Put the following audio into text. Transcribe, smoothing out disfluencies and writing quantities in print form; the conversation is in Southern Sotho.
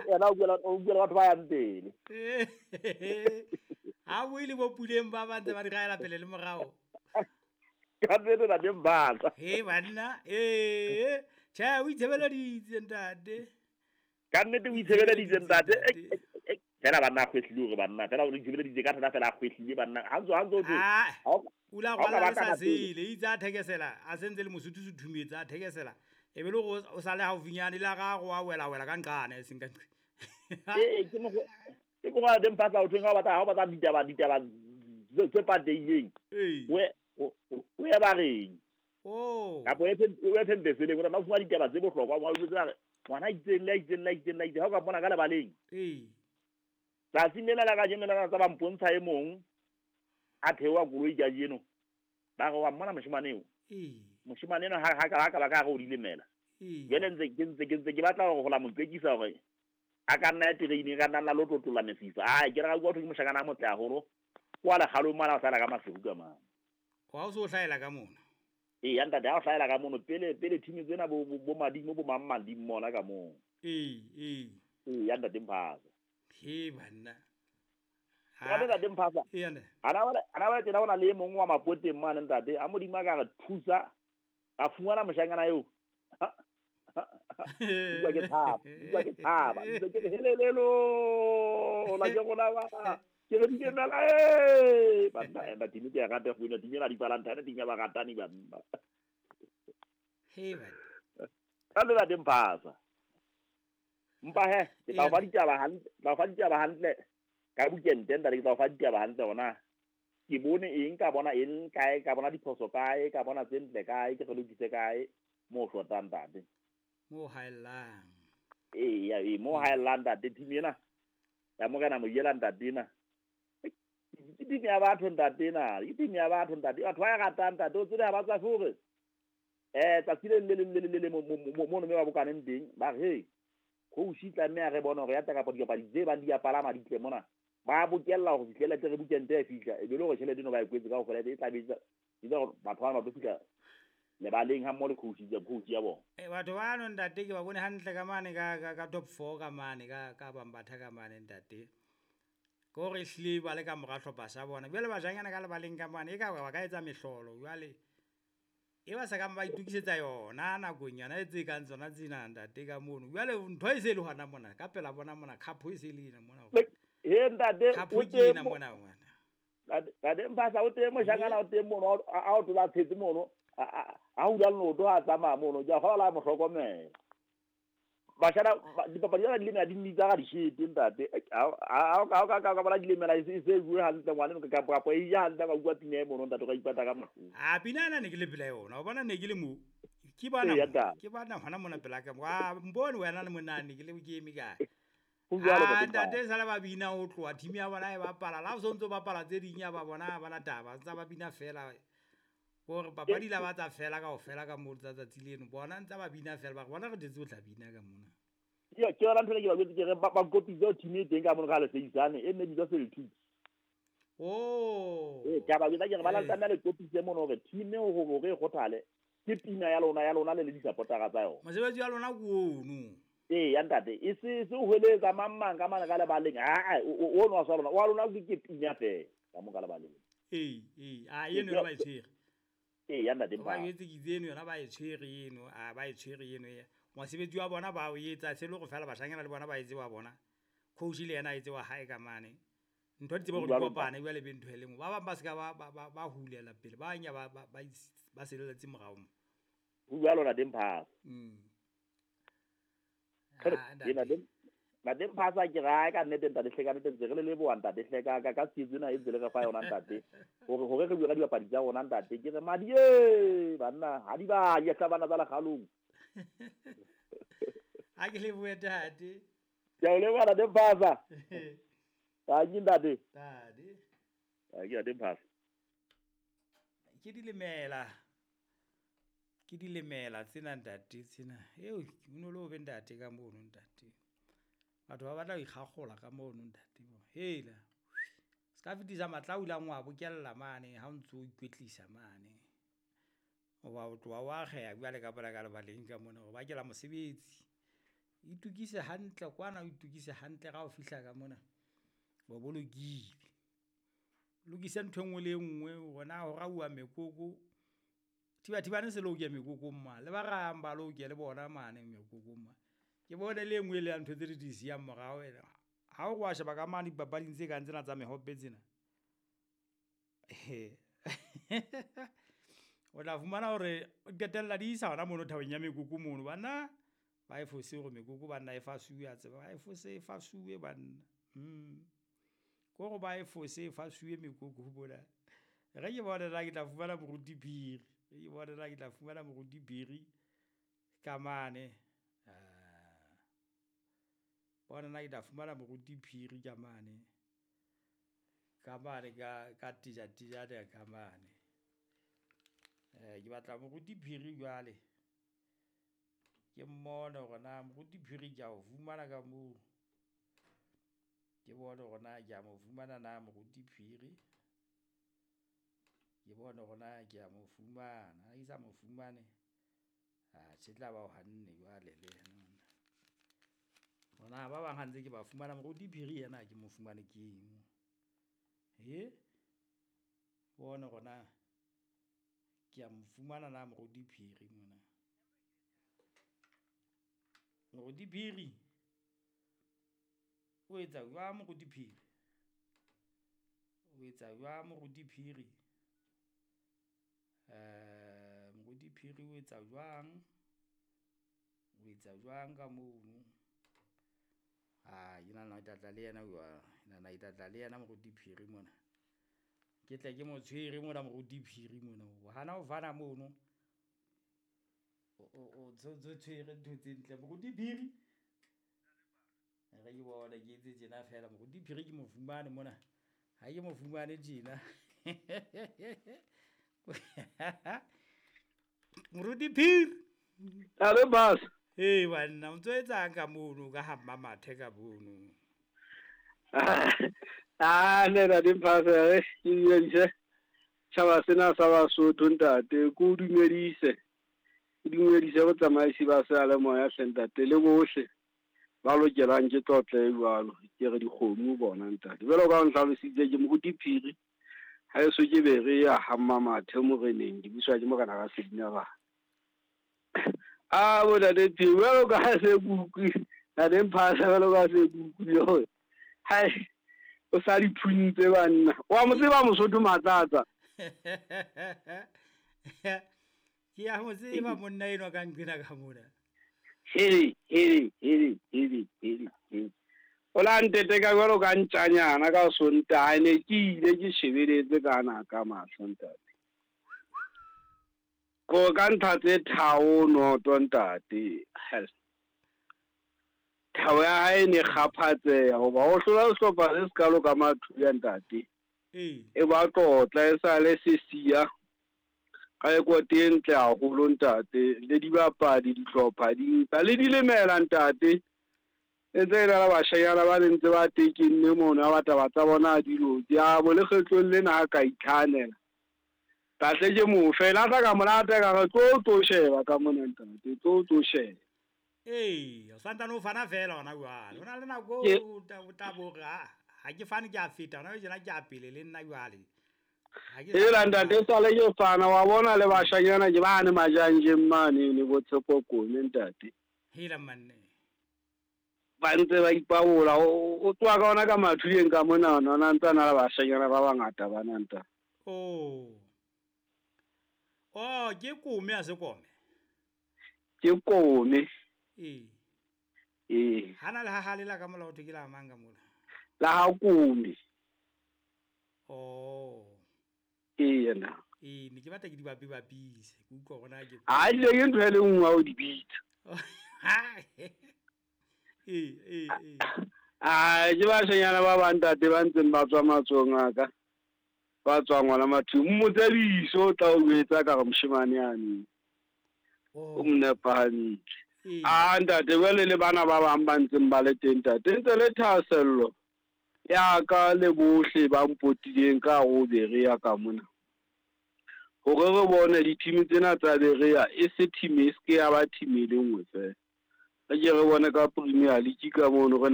Yena o buela batho ba yang pele. Ha bue le bo Puleng ba ba ntse ba di raela pele le morao. Ka nnete, ntate Mphasa. He banna, ee, tjhe, o itshebeleditse, ntate. Ka nnete o itshebeleditse, ntate. Fela banna a kgwehlile hore banna fela o itshebeleditse ka thata, fela a kgwehlile banna ha ntso thwe. Ah, ha o o la ha o ka rwala ba le sa ka pele. sele itse a thekesela, a sentse le mosotho suthumetse a thekesela, e be le gore o sale haufinyane le ga go a wela wela ka nqane, e seng ka nqe. Ee, ke mokgwa teng Mphasa o thweng ha o batla ditaba tse patehileng, o ye bareng kapa o ye phempeseleng, o tla fumana ditaba tse bohlokwa. Wa utlwe re ngwana a itseng le a itseng le a itseng le a itseng, ha o ka mmona ka lebaleng tsatsing lena la kajeno lena, tsa ba mpontsha e mong a theoha koloi kajeno, ba re wa mmona moshemane eo. Moshemane eno ha ka ba ka re o dilemela. Jwale ntse ke batla hore ho la mo qekisa hore a ka nna ya tereini, ka nna nna lo tlotlolla mesifa. Ai, ke re ka bua thwe ke moshakana a motle haholo kwa lekgalong mana, o hlahela ka Maseru ka mane. Wa o se o hlahela ka mona. Ee ya ntate, ha o hlahela ka mono pele pele team tsena bo madimo bo mang mang di mmona ka moo. Ee ee. Ee ya ntate Mphasa. He banna. Ntate, ntate Mphasa. Ee ntate. Ana ba tena ona le e mong wa Mapoteng mane, ntate, a Modimo a ka re thusa a fumana moshanyana eo. Utlwa ke thaba, utlwa ke thaba, ntse ke re helelelo la ke rona ba ke re dikemela e banna ena team ke ya rata go ina team ena di Valentine, team ya baratani banna. He banna. Ka le ntate Mphasa, mpa he ke tla o fa ditaba hantle, tla o fa ditaba hantle ka bukente, ntate, ke tla o fa ditaba hantle hona ke bone eng, ka bona eng kae, ka bona diphoso kae, ka bona tse ntle kae, ke re lokise kae mo shotang, ntate. Mo haellang. Ee ya, ee, mo haellang, ntate. Team ena ya Morena Moyela, ntate, ena ke team ya batho, ntate, ena ke team ya batho, ntate, batho ba e ratang, ntate, o tsebe ha ba tswafe hore tsatsi le leng le le le le mono me ba bokaneng teng, ba re hey, coach tlameha re bone hore ya tla kapa dipapadi tse bang di ya palama di tle mona, ba bokella hore fihlele tle re bukente e fihla, e be le hore tjhelete eno ba e kwetse kaofela, e tla be etsa hore batho bana ba tlo fihla lebaleng ha mmoho le coach ya bona. E batho bano, ntate, ke ba bone hantle ka mane ka top 4 ka mane ka Bambatha ka mane, ntate, ke hore ehlile ba le ka mora hlopha sa bona. Jwale bajanyana ka lebaleng ka mane e ka ba ka etsa mehlolo, jwale e ba sa kang ba itokisetsa yona nakong yona e tse kang tsona tsena, ntate, ka mono. Jwale ntho e se e le hona mona ka pela bona mona, khapo e se le ena mona. He ntate. Khapo O ke teng ena mona ngwana. Ntate Mphasa, o teng moshakana, o teng mono a o tola tshetse mono, a hula leoto ha a tsamaya mono, ke a kgolwa la mo hlokomela bashana dipapadi tsena di lemela di mmitsa ka dishete, ntate. Ha o ka bona dilemela e se bue hantle ngwane kapa e ja hantle, ka utlwa pina e mono, ntate, o ka ipata ka mahlong. A pina ena ne ke le pela yona, o bona ne ke le mo ke bona Ee, ya ntate. Ke bona hona mona pela ka wa mbone wena le monane ke le ke eme kae. Ho jwalo, Ah, ntate Mphasa. Ntate, sale ba bina ho tloha team ya bona e bapala, la o sontso bapala tse ding ya ba bona ba na taba tsa ba bina fela hore papadi la ba tsa fela kaofela ka moo tsa tsatsi leno, bona ntsa ba bina fela, ba re bona re tletse ho tla bina ka mona. Ke yona ntho ena ke ba jwetse ke re ba kopitse team e teng ka mono ka Leseisane e nne bitswa Celtics. Ee, ke a ba jwetsa ke re ba tlameha le kopitse mono hore team eo hore e kgothale ke pina ya lona le di-supportera tsa yona. Mosebetsi wa lona ke ono. Ee ya ntate, e se o hweletsa mang mang ka mane ka lebaleng, aa ono wa sa lona wa lona ke pina fela ka mo ka lebaleng. Ee, a eno yona ba e tshwere. Ee ya ntate Ba Mphasa. jwetse ke itse eno yona ba e tshwere eno, a ba e tshwere eno ya mosebetsi wa bona ba o etsa se le gore fela bashanyana le bona ba etse wa bona, coach le yena a etse wa hae ka mane, ntho di tsebe gore di Jwalo. kopane jwale be ntho e le nngwe. Ba bang ba se ka ba hulela pele, ba nya ba seleletse morao mo. Ho jwalo, ntate Mphasa. Ah, Ee, ntate. Ntate Mphasa, ke rae ka nnete, ntate hle, ka nnete ntse re le leboha, ntate hle, ka tshehetso ena e ntse le re fa yona, ntate, hore re bue ka dibapadi tsa rona, ntate. Ke re madi e banna ha di ba di tla bana tsa lekgalong. Ha ke lebohe, tate. Ke a o leboha, ntate Mphasa. Tanki, ntate. Tate. Tanki, ntate Mphasa. Ke dilemela, ke dilemela tsena, ntate, tsena eo o no le o be ntate ka mono, ntate, batho ba batla ho ikgagola ka mono, ntate. Hela se ka fetisa matla o ilang wa bokella mane ha o ntso o ikwetlisa mane, oba o tloha o akgeha jwale ka pela ka lebaleng ka mona, o bakela mosebetsi. Itukise hantle kwana, o itukise hantle ga o fihla ka mona. Bo bolokile. Lokise ntho e nngwe le e nngwe hore na ho rauwa mekoko. Thibathibane se loke mekokong mane. Le ba rahang ba loke le bona mane mekokong mane. Ke bone le e nngwe le ya ntho tse di siyang morao ena. Ha o wa sheba ka mane dipapading tse kang tsena tsa mehope tsena. O tla fumana hore o qetella di isa hona mono thabeng ya mekoko mono. Banna ba e fose hore mekoko banna e fasuwe a tseba, ba e fose e fasuwe banna. Ko re ba e fose e fasuwe mekoko mona. Re ke bone na ke tla fumana moruti Phiri. Ke bone na ke tla fumana moruti Phiri ka mane. Bona na ke tla fumana moruti Phiri ka mane. Ka mane ka teja tejane ka mane. Ke batla moruti Phiri jwale. Ke mmone hore na moruti Phiri ke a o fumana ka moo. Ke bone hore na ke a mo fumana na moruti Phiri. Ke bone hore na ke a mo fumana. Ha ke sa mo fumane, atjhe tla ba o hanne jwale le yena monna. Hona ba bang ha ntse ke ba fumana, moruti Phiri yena ha ke mo fumane ke eng. Bone hore na ke a mo fumana na moruti Phiri mona. Moruti Phiri o etsa jwang moruti Phiri? O etsa jwang moruti Phiri? Moruti Phiri o etsa jwang? O etsa jwang ka mono? Ke nahana ke tla tla le yena jwang. Ke nahana ke tla tla le yena moruti Phiri mona. Ke tle ke mo tshwere mona moruti Phiri mona. O hana ho fana mono. O tshwere ntho tse ntle moruti Phiri. Re ke bone ke etse tjena feela moruti Phiri ke mo fumane mona. Ha ke mo fumane tjena. Moruti Phiri. Ale bas. Ee banna, o ntso etsang ka mono ka ha Mmamathe ka mono? Ne ntate Mphasa, ke dumedise tjhaba sena sa Basotho ntate, ke o dumedise. Ke dumedise botsamaisi ba seyalemoya hle ntate, le bohle ba lokelang ke tlotlo e jwalo. Ke re dikgomo bona ntate. Jwalo ka o ntlhalositse ke moruti Phiri. Ha eso ke be re ya ha Mmamathe moreneng, ke buswa ke morena ka Sedina ba. Bo ntate Phiri, jwalo ka ha se ke utlwile, ntate Mphasa jwalo ka ha se ke utlwile hore hai o sa di phuntse banna. Wa mo tseba Mosotho Matsatsa? Ke a mo tseba monna enwa ka nqena ka mona. Hele, hele, hele, hele, hele, hele. O la ntete ka jwalo ka ntjanyana ka Sontaha, ne ke ile ke shebeletse ka na ka mahlo ntate. Ko ka ntlha tse tharo noto ntate. Hell. Thabo ya hae ne kgaphatseha hoba ho hlola sehlopha se sekalo ka mathunya ntate. E ba tlotla e sale se siya ka rekote e ntle haholo ntate, le dibapadi dihlopha di nka le dilemela ntate. E ntse e na le bashanyana ba ne ntse ba tekenne mono ya bataba tsa bona di loke. A bo lekgetlong lena ha ka itlhahanela. Kahle ke mo fela tla ka monate ka re tlo sheba ka mona ntate, tlo sheba. Ee, o santsane o fana fela hona jwale. Ho na le nako o tla bo re ha ke fane ke a feta, hona tjena ke a pele le nna jwale. Hela ntate sale ke fana wa bona le bashanyana ke bane majanjeng mane ne bo Tshepo Kone ntate. Hela manne. Ba ntse ba ipabola o tloha ka ona ka mathuleng ka mona ona ntse na le bashanyana ba bangata bana ntate. Oh. Oh, ke kome a se kome. Ke kome. Ee. Ee. Hana le ha le la ka mola o ke la mang ka mola. La ha kome. Oh. Ee yena. Ee, ne ke batla ke di bapise. Ke utlwa hore na ke. Ha ile ke ntho e le nngwe o di bitsa. Ee, ee, ee. Ah, ke bashanyana ba bang ntate ba ntseng ba tswa matsohong a ka. Ba tswang ngwana mathu. Mmotsebiso o tla o etsa ka re moshemane yane. O mo nepahantse. Ah ntate jwale le bana ba bang ba ntseng ba le teng ntate. Ntse le thahasello ya ka le bohle ba mpotileng ka ho Berea ka mona. Hore re bone di-team tsena tsa Berea e se team e se ke ya ba team e le nngwe fela. Re ke re bone ka Premier League ka mono re.